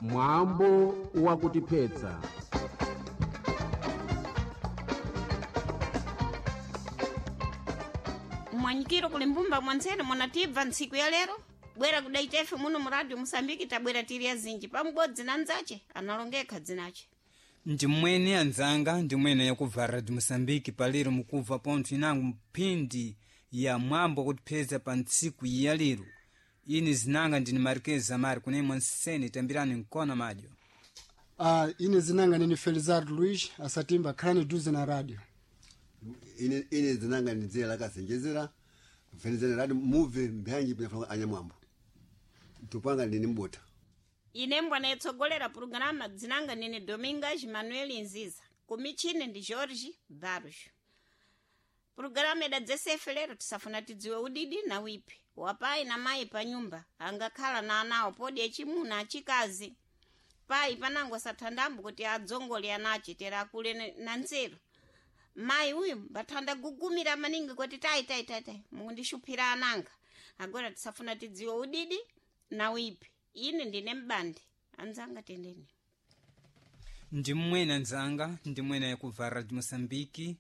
Mwambo wakutiphetsa. Mwanyikiro kuli mbumba mwanzene munatibva ntsiku ya lero bwera kudaitefe muno mu radio Musambiki tabwera tiri azinji pamubodzi na nzache analongekha dzinache. Ndimwene anzanga, ndimwene yakubva Radio Moçambique palero mukubva pontho inango mphindi ya mwambo wakutipheza pa ntsiku ya lero. Ine zinanga ndini Marquez Amari kunemwe nsene tambirani nkona madyo. Ine zinanga nini Felizardo Luiz asatimba khalani duze na radio. Ine zinanga ni dzina lakasenjezera mfenezera radi muve mbyanji pinafuna anyamwambo tupanga ndini mbota. Ine mbwana yetsogolera purogirama dzinanga nini Domingas Manuel Nziza kumichini ndi Jorge Barros. Purogirama idadzesefe lero tisafuna tidziwe udidi na wipi wapayi na mayi pa nyumba angakhala na anawo podi echimuna achikazi payi panango asathandambo kuti adzongole anache tera akule na nzeru. Mayi uyu mbathanda gugumira maningi kuti tayi tayi tayi tayi mukundishuphira ananga. Agora tisafuna tidziwe udidi na wipi. Ine ndine mbandi anzanga tendeni. Ndimwene anzanga, ndimwene yakubva Radio Moçambique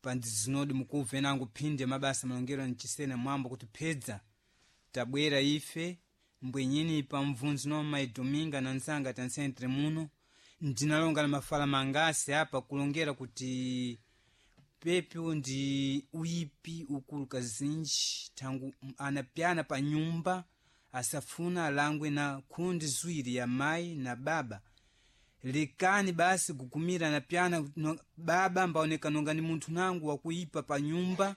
pandizinodi mukubva inango phindi ya mabasa malongero mchisena mwambo kutiphedza tabwera ife mbwenyini pa mvunzo no mayi Dominga na nzanga tansentre muno ndinalonga na mafala mangasi apa kulongera kuti pepi ndi uyipi ukulu kazinji thangu anapyana pa nyumba asafuna alangwe na khundi ziwiri ya mayi na baba. Lekani basi gugumira anapyana no, baba mbaoneka nonga ni munthu nangu wakuipa pa nyumba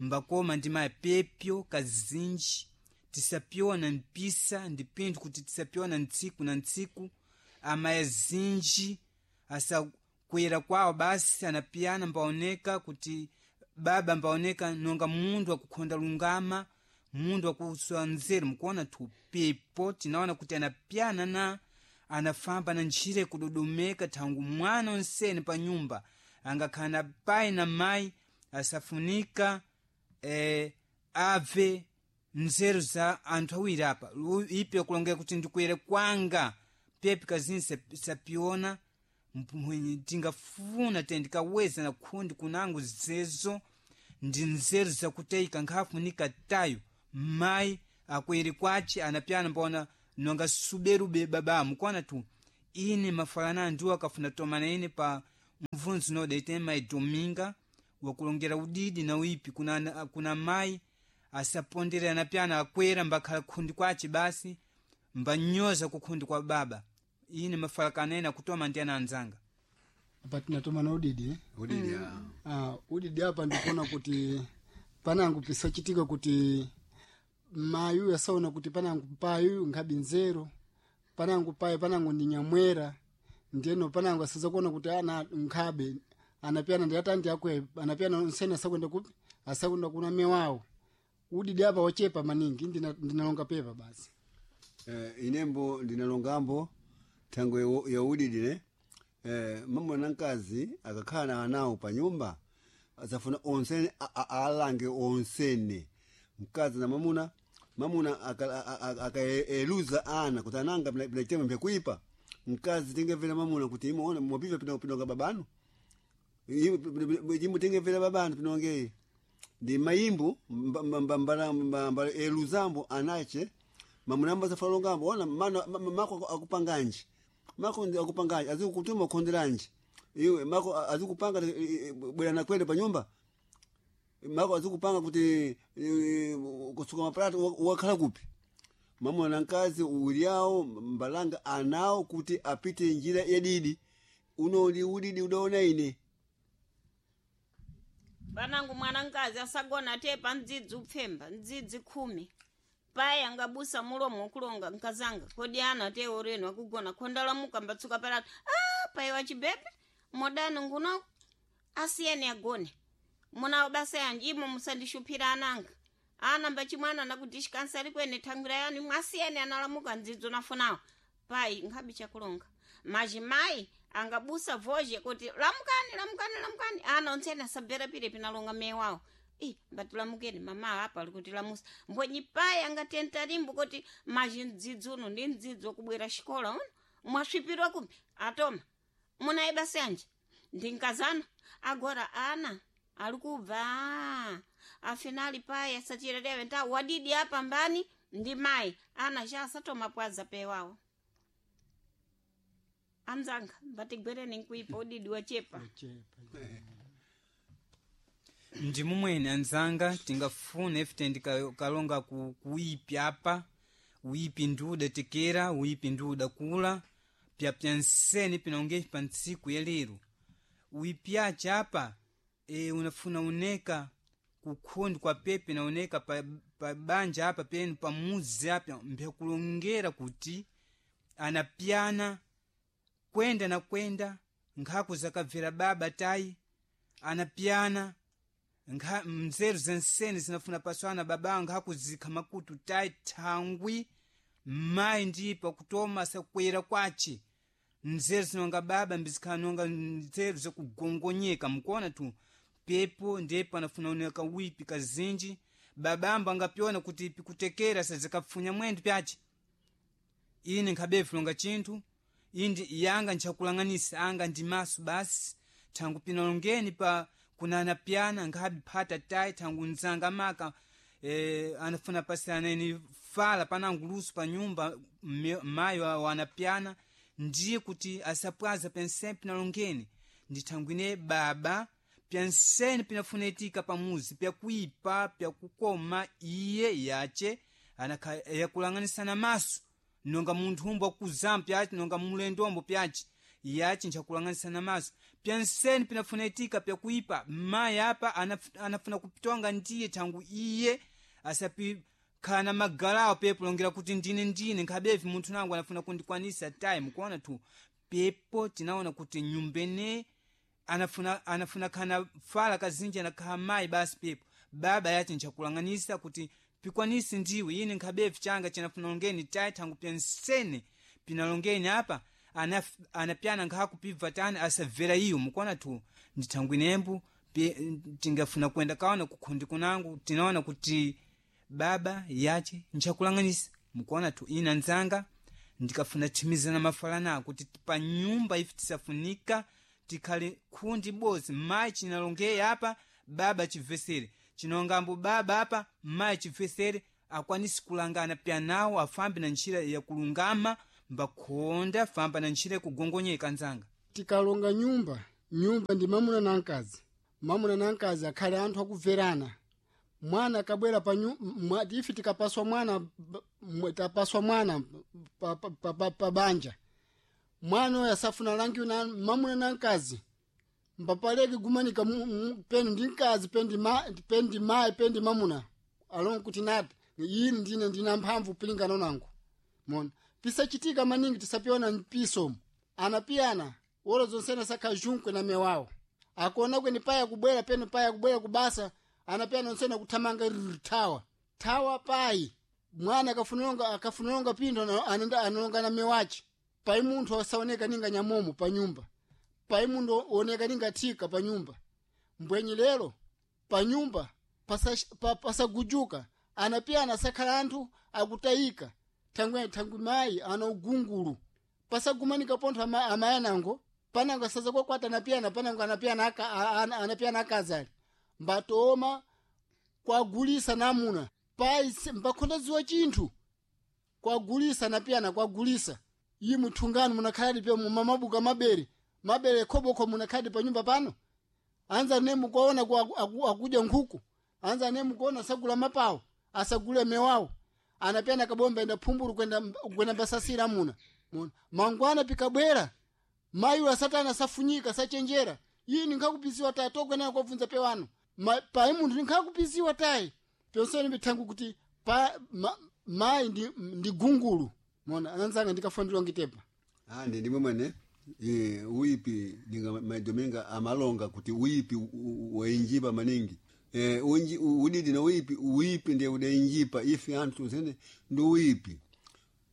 mbakoma ndi mayi pepyo kazinji tisapyona mpisa ndi pinthu kuti tisapyona ntsiku na ntsiku. Amayi zinji asakwera kwawo basi anapiyana mbaoneka kuti baba mbaoneka nonga munthu akukhonda lungama munthu akuswa nzeru mukuona thupepo tinaona kuti anapiyana na anafamba na ntchire kudodomeka thangu mwana onsene pa nyumba angakhala na pai na mayi asafunika abve nzeru za anthu awiri apa. Ipe akulongera kuti ndikwere kwanga pepi kazini sapiona tingafuna tendikaweza na khundi kunango zezo ndi nzeru zakuteyika nkhafunika tayo mayi akwere kwace anapyana mbona nonga suberube baba mukuona tu ine mafalana ndiwo akafuna tomana ine pa mvunzo noda ite mayi Dominga wakulongera udidi na uipi kuna mayi asapondera anapyana akwera mbakhala khundi kwace basi mbanyoza kukhundi kwa baba. Ine mafalakana ena kutoma ndi ana anzanga. Apa tinatoma na udidi eh? Udidi. Udidi apa ndikuona kuti panangu pisachitika kuti mayi uyu asaona kuti panangu payi uyu nkhabi nzeru panangu payi panangu ndi nyamwera ndiyeno panangu asaza kuona kuti ana nkhabe anapyana ndi atandi akwe anapyana onsene asakwenda kupi asakwenda kuna mewawo. Udidi apa wachepa maningi ndinalonga pepa basi. Inembo ndinalongambo thango ya udidi ne mamuna na mkazi akakhala na anawo pa nyumba asafuna onsene alange onsene mkazi na mamuna. Mamuna akaeluza ana kuti ananga pinachitema mpyakuipa mkazi tingemvera mamuna kuti imuona mwapiva pinonga babanu imwe tingemvera babanu pinongeye ndi mayimbo mbala eluzambo anache mamuna ambasafalongambo ona mana mako akupanganji mako ndi akupanganji azikutuma kukhonderanji iwe mako azikupanga bwera na kwende pa nyumba mako azikupanga kuti kusuka maplato wakhala kupi. Mamuna na mkazi uwiri awo mbalanga anawo kuti apite njira yadidi uno ndi udidi udaona ine. Panangu mwana mkazi asagona tepa mdzidzi upfemba mdzidzi 10 payi angabusa mulomo kulonga nkazanga kodi ana te oreno akugona khonda lamuka mbatsuka palatu payi wachibepe modano nguno asiyeni agone munawo basa yanji imo musandishuphira ananga ana mbachimwana nakuti xikansali kwene thangwira yanu imwe asiyeni analamuka mdzidzo nafunawo payi nkhabi chakulonga majimayi angabusa voje kuti lamukani lamukani lamukani ana ontsene asabvera pire pinalonga mewawo. Ih, mbatilamukeni mama apa ali kuti lamusa mbonyi payi angatenta limbo kuti maji mdzidzi uno ndi mdzidzi wakubwera xikola uno Mwasvipirwa kupi? Atoma. Munaye basi anje. Ndinkazana. Agora ana ali kubva. Afinali paye sachirerewe nta wadidi apa mbani ndi mai ana cha asatoma pwaza pewawo. Anzanga mbatigwereni nkuipa udidi wachepa. Ndi mumwene anzanga tingafune ife kalonga kuipi apa uipi ndi udatekera uipi ndi udakula pyapya nsene pinongepi pa ntsiku ya lero uipi ace apa unafuna uneka kukhondi kwa pepe naoneka pa, pa banja apa penu pamuzi apa mbyakulongera kuti anapyana kwenda na kwenda nkhaku zakabvera baba tayi anapyana nkha mzeru zensene zinafuna paswana baba nkhakuzikha makutu tayi thangwi mayi ndipo kutoma sakwera kwace nzeru zinonga baba mbizikhala nzeru zakugongonyeka mukuona tu pepo ndipo anafuna oneka wipi kazinji babambo angapyona kuti pikutekera sazikafunya mwendo pyace ine nkhabefu longa chinthu indi yanga nchakulang'anisa anga ndi maso basi thangu pinalongeni pa kunana pyana nkhabe phata tayi thangu nzanga maka anafuna pasianeni fala panangu luso pa nyumba mayi wanapyana ndiye kuti asapwaza pensene pinalongeni ndi thangu ine baba pyansene pinafuna itika pamuzi pyakuipa pyakukoma iye yace yakulang'anisana maso nonga munthu umbo akuzama pyace nonga mulendombo pyace yace nchakulang'anisana maso pyansene pinafuna itika pyakuipa mayi apa anafuna kupitonga ndiye thangu iye asapikhala magalawo pepo longera kuti ndine nkhabevi munthu nangu anafuna kundikwanisa tayi mukuona tu pepo tinaona kuti nyumbene anafuna khana fala kazinji anakhala mayi basi pepo baba yace nchakulang'anisa kuti pikwanisi ndiwe ine nkhabevi changa chinafuna longeni tayi thangu pyansene pinalongeni apa anapyana nkhakupibva tani asabvera iyo mukuona tu ndithangwi nembo tingafuna kwenda kaona kukhondi kunangu tinaona kuti baba yace nchakulang'anisa mukuona tu ina nzanga ndikafuna thimizana mafalana kuti pa nyumba ife tisafunika tikhale khundi bozi mayi chinalongeye apa baba chivesere chinongambo baba apa mayi chivesere akwanisi kulangana pyanawo afambe na ntchira yakulungama mbakhonda famba na ntchira yakugongonyeka nzanga. Tikalonga nyumba nyumba ndi mamuna na mkazi mamuna na mkazi akhale anthu akubverana mwana akabwera pa ife tikapaswa mwana tapaswa mwana pa, pa, pa, pa, pa banja mwana oyo asafuna langiwe na mamuna na mkazi mbapaleke gumanika penu ndi mkazi pendi mayi pendi mamuna alonga kuti nati ine ndine ndina mphamvu pilingana nangu mona pisachitika maningi tisapiona mpisomo anapiyana wolo zonsene sakhajunkwe na mewawo akuona kweni paya kubwera penu paya kubwera kubasa anapiyana onsene kuthamanga rrr, thawa thawa payi mwana akafunilonga pindo analonga na mewace pai munthu asaoneka ninga nyamomo pa nyumba pai munthu oneka ninga thika pa nyumba mbwenyi lero pa nyumba pasagujuka pasa anapiyana asakhala anthu akutayika thangwi thangwi mayi ana ugungulu pasagumanika pontho amayi anango panango asaza kwakwata anapiyana panango anapiyana anapiyana akazali mbatoma kwagulisa namuna pai mbakhonda ziwa chinthu kwagulisa anapiyana kwagulisa iyi muthungano munakhaladi pe mumamabuka mabere mabere khobokho munakhaladi pa nyumba pano anza ne mukuona akudya nkhuku anza ne mukuona asagula mapawo asagule mewawo anapiyana kabomba enda phumbulu kwenda mbasasira muna muna mangwana pikabwera mayi asatana asafunyika asachenjera iyi ninkhakupisiwa tayi tokwenera kwabvunza pewano payi munthu ninkhakupisiwa tayi pyonsene mithangu kuti pa mayi ndi gungulu mona anzanga ndikafanirwa ngitepa andi ndimwe mwene uipi ninga maidominga amalonga kuti uipi wainjipa maningi udidi na uipi uipi ndiye udainjipa ife anthu zene ndi uipi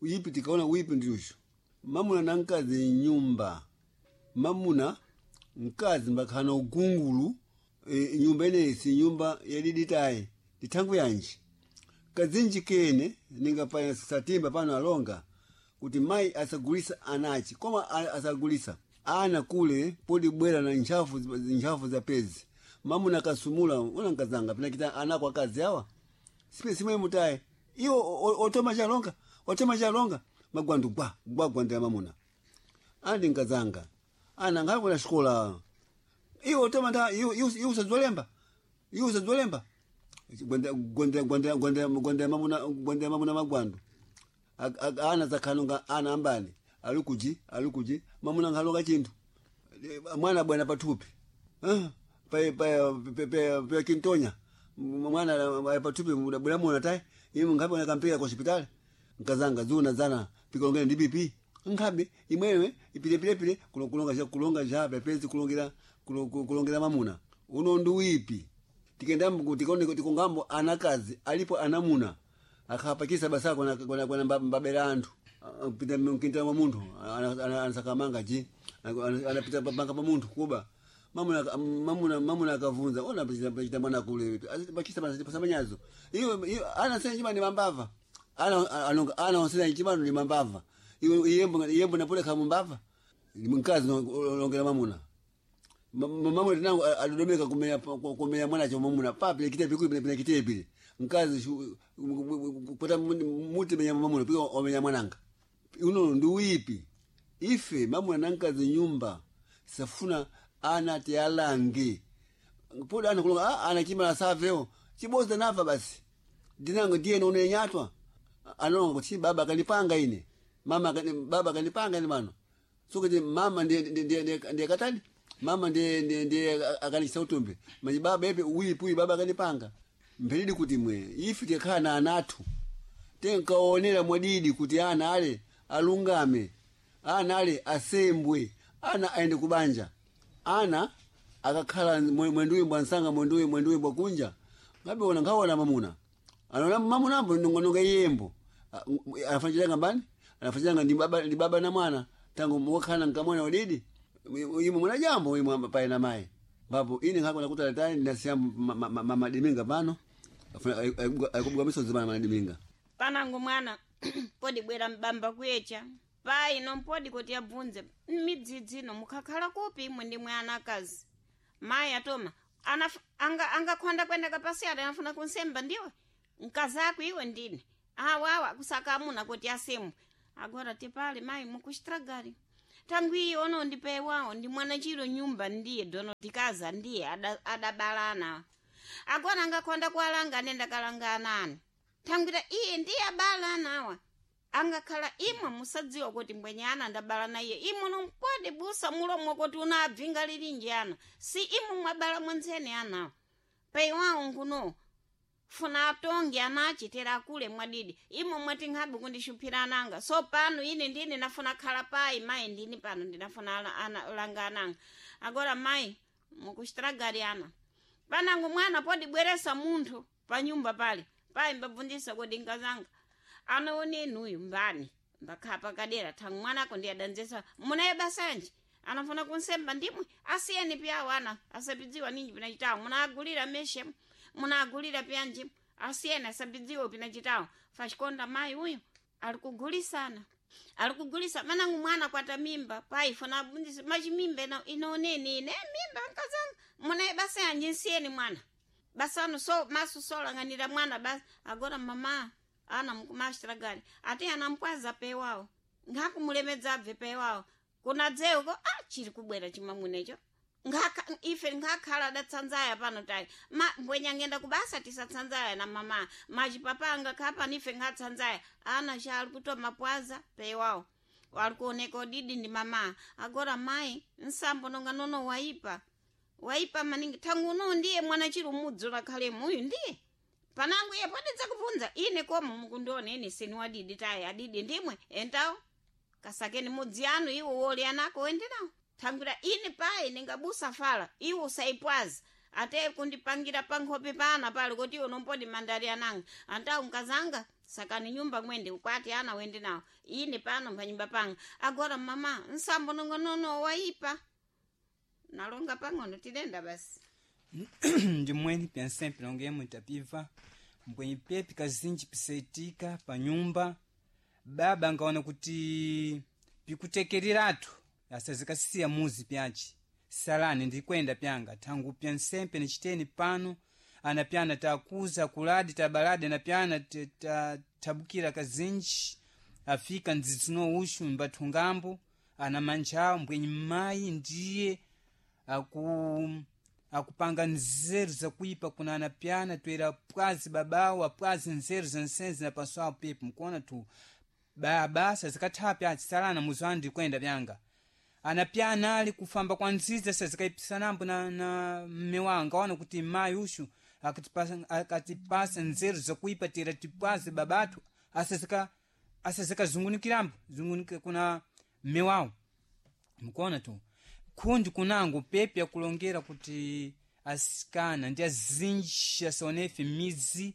uipi tikaona uipi ndiusho mamuna na mkazi nyumba mamuna mkazi mbakhana ugungulu nyumba ineyi si nyumba yadiditayi ndithangu yanji kazinji kene ninga pa satimba pano alonga Kuti mai asagulisa anachi koma asagulisa ana kule podi bwera na ntchafu ntchafu za pezi mamuna akasumula una nkazanga pinakita anako akazi awa sipe simwe mutaye iwo otoma chalonga otoma chalonga magwandu gwa gwa gwandu ya mamuna andi nkazanga ana ngakwena xikola iwo otoma nda iwo iwo usadzolemba iwo usadzolemba gwanda gwanda gwanda gwanda gwanda mamuna gwanda mamuna magwandu ana zakhalonga ana ambani alikuji alikuji mamuna nkhalonga chinthu mwana bwana pathupi pa pa pa pa kintonya mwana pathupi bwana mona tai imwe nkhabe na kampira ku hospitali nkazanga zuna zana pikolongera ndi BP nkhabe imwewe ipilepile kulonga cha kulonga cha pepezi kulongera kulongera mamuna uno ndi wipi tikenda tikone tikongambo anakazi alipo anamuna akhapakisa basako na na na mbabera anthu pita mkinta wa munthu anasakamanga ji anapita panga pa munthu kuba mamuna mamuna mamuna akavunza ona pita mwana kule pakisa pasamanyazo iyo iyo ana sena chimani mambava ana ana ana sena chimani ni mambava iyo iyembo iyembo napole kama mbava mkazi longera mamuna mamuna tinango adodomeka kumenya kumenya mwana cho mamuna papi kite pikui pina kite pile mkazi pota muti menya mamuna pika omenya mwananga uno ndi wipi ife mamuna nankazi nyumba safuna ana tialange poda ana kulonga ah, ana chimala saveo chiboza nafa basi ndinango ndiye nono nyatwa anonga kuti baba akanipanga ine mama akani, baba akanipanga ine mano so kuti mama ndiye ndiye ndiye katani mama ndiye ndiye ndiye akanikisa utumbe maji baba epe uyipi uyi baba akanipanga mphelidi kuti mwe ife tikhala na anathu tenkaonera mwadidi kuti ana ale alungame ana ale asembwe ana aende kubanja ana akakhala mwenduyi bwa nsanga mwenduyi mwenduyi bwa kunja ngabiona nkhaona mamuna anaona mamuna ambo nongononga iyembo anafanchilanga mbani anafanchilanga ndi baba ndi baba na mwana tangu wakhala nkamwana wadidi imwe mwana jambo imwe paye na mayi mbapo ine nkhakona kuti alatani ndinasiya mamadiminga pano akubuka misozi pana manadiminga panango mwana podi bwera mbamba kuyecha payi nompodi kuti abvunze midzidzi ino mukhakhala kupi imwe ndi mwe anakazi mayi atoma angakhonda kwenda kapasi ati anafuna kunsemba ndiwe mkazako iwe ndine awawa kusaka amuna kuti asemwe agora tipale mayi mukuxitragari tangu iye ono ndipewawo ndi mwana chiro nyumba ndiye dono tikaza ndiye adabalana agora angakhonda kualanga anenda kalanga anani thangwira iye ndiye abala anawa angakhala imwe musadziwa kuti mbwenye ana ndabala na iye imwe nompode busa mulomo kuti unabvinga lilinji ana si imwe mwabala mwentsene anawa peiwawo nkuno funa atonge ana achitera akule mwadidi imwe mwati nkhabe kundixuphira ananga so pano ine ndine nafuna khala payi mayi ndini pano ndinafuna langa ananga agora mayi mukuxitragari ana panango mwana podibweresa munthu panyumba pale payi mbabvundisa kodi nkazanga anaone uyu mbani mbakhala pakadera thangu mwanako ndi adanzesa munaye basanji anafuna kunsemba ndimwe asiyeni piyawo ana asapidziwa ninji pinachitawo munaagulira meshe munaagulira piyanji asiyeni asapidziwa pinachitawo faxikonda mayi uyu ali kugulisana ali kugulisa manangu mwana kwata mimba payi funa abundisa machimimba inaoneni ine mimba nkazanga munaye basanji nsiyeni mwana basano so maso solang'anira mwana basi agora mama ana mukumaxitragari ati anampwaza pewawo nkhakumulemedza abve pewawo kunadzewko a chiri kubwera chimamuna nkhaka ife nkhakhala adatsanzaya pano tayi ma mbwenya ngenda kubasa tisatsanzaya na mama machipapa angakhala pano ife nkhatsanzaya ana cha ali kutoma pwaza pewawo wali kuoneka udidi ndi mama agora mayi nsambo nonga nono waipa waipa maningi thangu uno ndiye mwana chiri umudzi unakhalemo uyu ndiye panangu iye podedza kubvunza ine koma mukundiona ine sini wadidi tayi adidi ndimwe entawo kasakeni mudzi anu iwo woli anako wende nawo thangwira ine payi ningabusa fala iwo usayipwaza ate kundipangira pankhope pana pali kuti iwo nompodi mandali ananga antawu nkazanga sakani nyumba mwende ukwati ana wende nawo ine pano panyumba panga agora mama nsambo nongonono waipa nalonga pang'ono tidenda basi ndimweni pyansempe nongemo tapiva mbwenyi pepi kazinji pisaitika pa nyumba. Baba angaona kuti pikutekereratu asazikasiya muzi pyace salani ndikwenda pyanga thangu pya nsempe nichiteni pano anapyana takuza kuladi tabaladi anapyana tabukira kazinji afika ndzidzi ushu mbathungambo ana manjawo mbwenyi mayi ndiye akupanga nzeru zakuipa kuna anapyana toera pwazi babawo apwazi nzeru zensenzi na paso awo pepo mkuona tu baba sazikathawa pyaci salana muzi wanu ndikwenda pyanga anapyana ali kufamba kwa nziza sazikaipisanambo na mme wawo angaona kuti mayi ushu akatipasa nzeru zakuipa tera tipwazi babatu asazikazungunikirambo zungunika kuna mme wawo mkuona tu khundi kunango pepe akulongera kuti asikana ndi azinji asaonefe midzi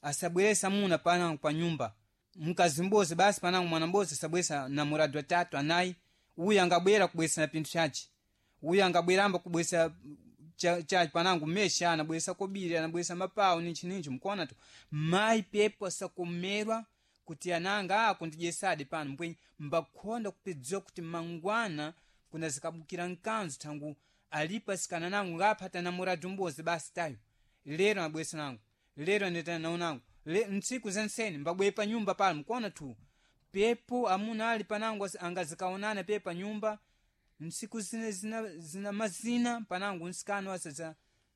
asabweresa muna panango pa nyumba mkazi mbozi basi panango mwana mbozi asabweresa namorado atatu anayi uyu angabwera kubweresa na pinthu chace uyu angabweramba kubweresa chace panango mesha anabweresa kobiri anabweresa mapawu ninchi ninchi mkuona tu mayi pepo asakomerwa kuti ananga akundidyesadi pano mbwenyi mbakhonda kupedziwa kuti mangwana kuna zikabukira mkanzu thangu alipo asikana nangu ngaphata namorado mbozi basi tayo lero anabweresa nangu lero anetana nawo nangu ntsiku zenseni mbabwere pa nyumba pano mkuona tu pepo amuna ali panangu angazikaonana pe pa nyumba ntsiku zina, zina, zina mazina panangu nsikano asaza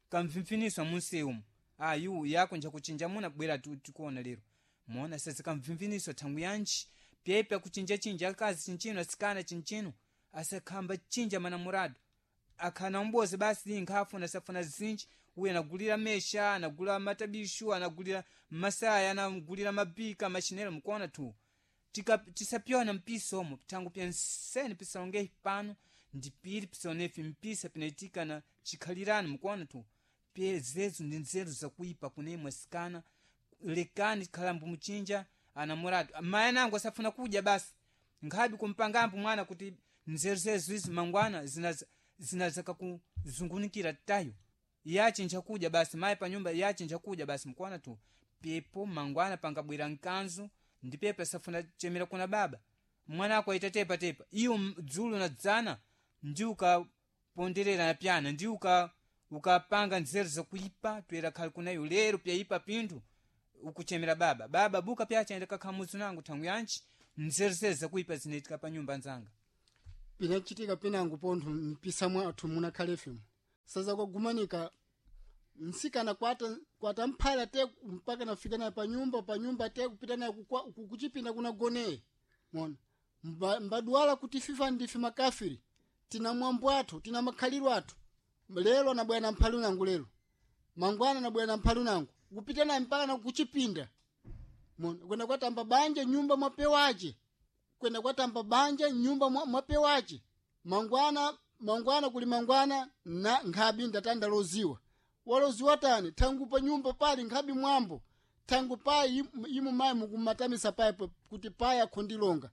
kamvimviniswa munsi umu ayu yako njakuchinja muna bwera tikuona lero mona sazikamvimviniswa thangu yanji pepe akuchinjachinja akazi chinchino asikana chinchino asakhamba chinja manamurado akhana umbozi basi nkhafuna safuna zinji uyu anagulira mesha anagula matabishu anagulira masaya anagulira mabika machinelo mkuona tu tisapyona mpisa omo thangu pya nsene pisalongehi pano ndipiri pisaonefi mpisa pinaitika na chikhalirani mkuona tu pye zezu ndi nzeru zakuipa kunemwe asikana lekani khalambo muchinja anamurado mayi anango asafuna kudya basi nkhabi kumpangambo mwana kuti nzeru zezu izi mangwana zinazakakuzungunikira tayo yachinja kudya basi mayi pa nyumba yachinja kudya basi mkuona tu pepo mangwana pangabwera mkanzu ndi pepo asafuna chemera kuna baba mwana ako aita tepa tepa iyo dzulo na dzana ndi ukaponderera na pyana ndi ukapanga nzeru zakuipa toera khali kunayo lero pyaipa pinthu ukuchemera baba baba buka pyachaenda kakhamuzi nangu thangu yanji nzeru zezi zakuipa zinaitika pa nyumba nzanga pinachitika pinango pontho mpisa mwathu munakhalefemo saza kwagumanika nsikana kwata mphala te mpaka nafika naye panyumba panyumba te kupita naye kuchipinda kunagoneye mona mbadwala kuti fifa ndife makafiri tina mwambo athu tina makhaliro athu lero anabwera na mphali unangu lero mangwana anabwera na mphali unangu kupita naye mpaka na kuchipinda mona kwenda kwatamba banja nyumba mwapewache kwenda kwatamba banja nyumba mwapewache mangwana mangwana kuli mangwana na nkhabi ndatanda loziwa waloziwa tani thangu pa nyumba pali nkhabi mwambo thangu payi imu mayi mukumatamisa payi kuti payi akhondilonga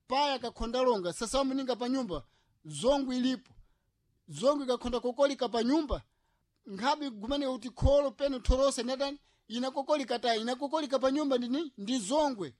payi akakhondalonga sasa wamuninga pa nyumba zongo ilipo zongo ikakhonda kokolika pa nyumba nkhabi gumanika kuti kholo pene thorose inatani inakokolika tayi inakokolika pa nyumba ndini ndi zongwe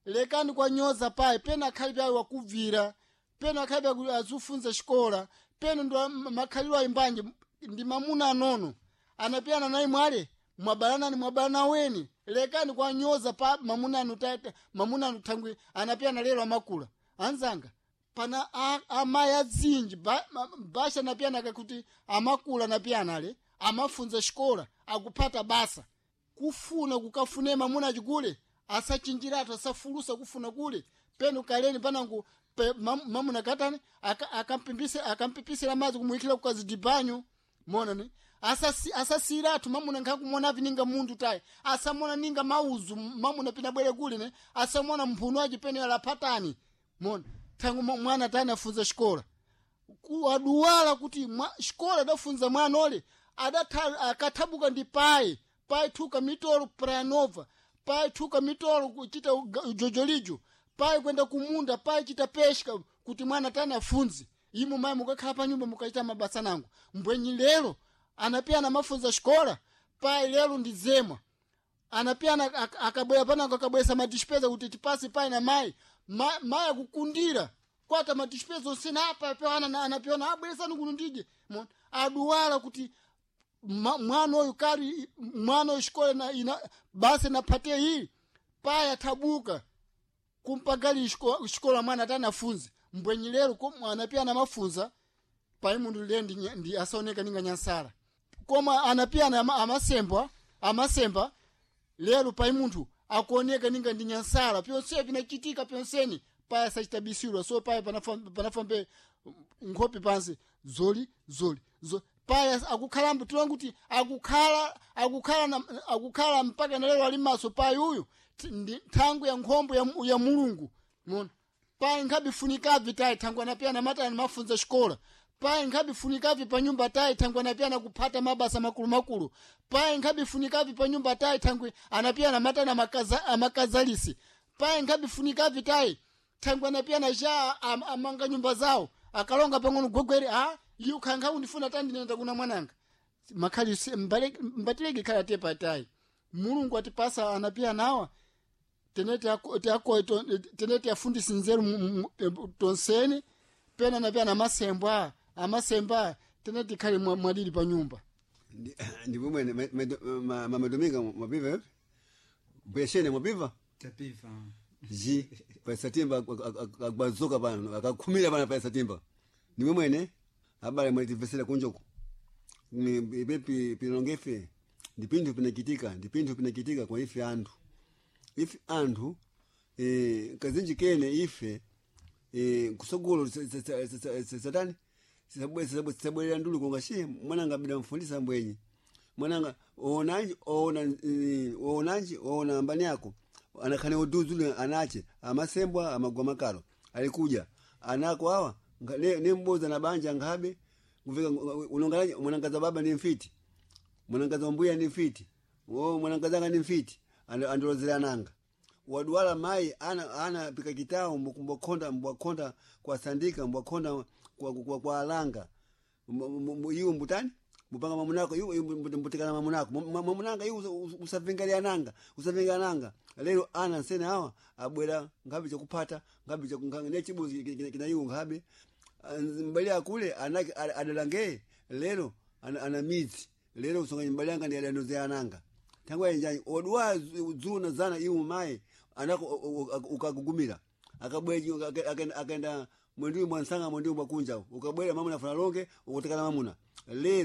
lekani kwanyoza payi pena akhali payi wakubvira pena akhali payi azufunza xikola pena ndo makhaliro ayimbanje ndi mamuna anono anapiyana naye mwale mwabalanani mwabalana weni lekani kwanyoza pa mamuna anu tata mamuna anu thangwi anapiyana lero amakula anzanga pana amayi azinji basha anapiyana kakuti amakula anapiyana ale amafunza xikola akuphata basa kufuna kukafune mamuna achikule asachinjiratu asafulusa kufuna kule penu kaleni panangu pe, mamuna katani akampipisira madzi kumuyikira kukazidibanyo mona ne asasiratu mamuna nkhakumona vininga munthu tayi asamona ninga mauzu mamuna pina bwere kule ne asamona mphuno aci pene alaphatani mona thangu mwana tani afunza xikola aduwala kuti xikola adafunza mwana ole akathabuka ndi payi payi thuka mitolo pranova payi thuka mitolo kuchita jojolijo payi kwenda kumunda payi chita pesca kuti mwana tani afunze imu mayi mukakhala pa nyumba mukachita mabasa nangu mbwenyi lero anapiyana mafunza xikola payi lero ndi zemwa Anapiana akabwera panango akabwesa madispeza kuti tipasi pai na mai mai akukundira kwata madispeza onsene apa pewana anapiona abweresani kuno ndije. Mona aduwala kuti mwana uyu kali mwana uyu xikola na ina basi naphatia ili paya thabuka kumpagali xikola mwana atanafunze mbwenyi lero koma anapia anamafunza pai mundu liye ndi asaoneka ninga nyansala koma anapia amasembwa amasemba lero pai munthu akuoneka ninga ndi nyansala pyonse pinachitika pyonseni paya sachitabisirwa so paya panafambe nkhope pansi zoli zoli paya akukhalambo tilonga kuti akukhala akukhala akukhala mpaka na lero ali maso paya uyu ndi thangu ya nkhombo ya mulungu mona paya nkhabifunikavi tayi thangu anapiyana matani mafunza xikola paya nkhabifunikavi pa nyumba tayi thangu anapiyana kuphata mabasa makulumakulu paya nkhabifunikavi pa nyumba tayi thangu anapiyana matani amakazalisi paya nkhabifunikavi tayi thangu anapiyana xa amanga nyumba zawo akalonga pang'ono gwegwere a iye ukhankha undifuna tandinenda kuna mwananga makhali mbatileke khala tepa tayi mulungu atipasa anapiya nawa tenete afundisi nzeru tonseni pena anapiya na masembwa amasemba tenete ikhale mwadili pa nyumba. Ndipomwene mamadominga mwapiva epi bweshene mwapiva tapiva ji paisatimba akwazuka pano akakhumira pano paisatimba nimwe mwene abale mwetivesera kunjoko ipe pilonge ife ndi pinthu pinachitika ndi pinthu pinachitika kwa ife anthu ife anthu kazinji kene ife kusogolo satani sisabwerera ndulu konga shi mwananga bida mfundisa mbwenyi mwananga oonanji oona oonanji oona ambani yako anakhane uduzule anache amasembwa amagwa makalo alikuja anako awa ne mboza na banja ngabe kuvika unongalaje mwanangaza baba ni mfiti mwanangaza mbuya ni mfiti wo mwanangaza ni mfiti andolozera nanga waduwala mai ana pika kitao mbwakonda mbwakonda kwa sandika mbwakonda kwa alanga iwo mbutani mupanga mamunako iwo mbutikana mamunako mamunanga iwo usavingalia nanga usavingalia nanga lero ana nsene awa abwera ngabe chakupata ngabe ne chibuzi kina iwo ngabe mbali akule anake adalange lero ana midzi lero usonga mbali anga ndi adandoze ananga tangu yenjani odwa zuna zana iwo mai anako ukagugumira akabweji akaenda mwendiwi mwansanga mwendiwi mwakunja ukabwera mamuna funa longe ukutekana mamuna lero.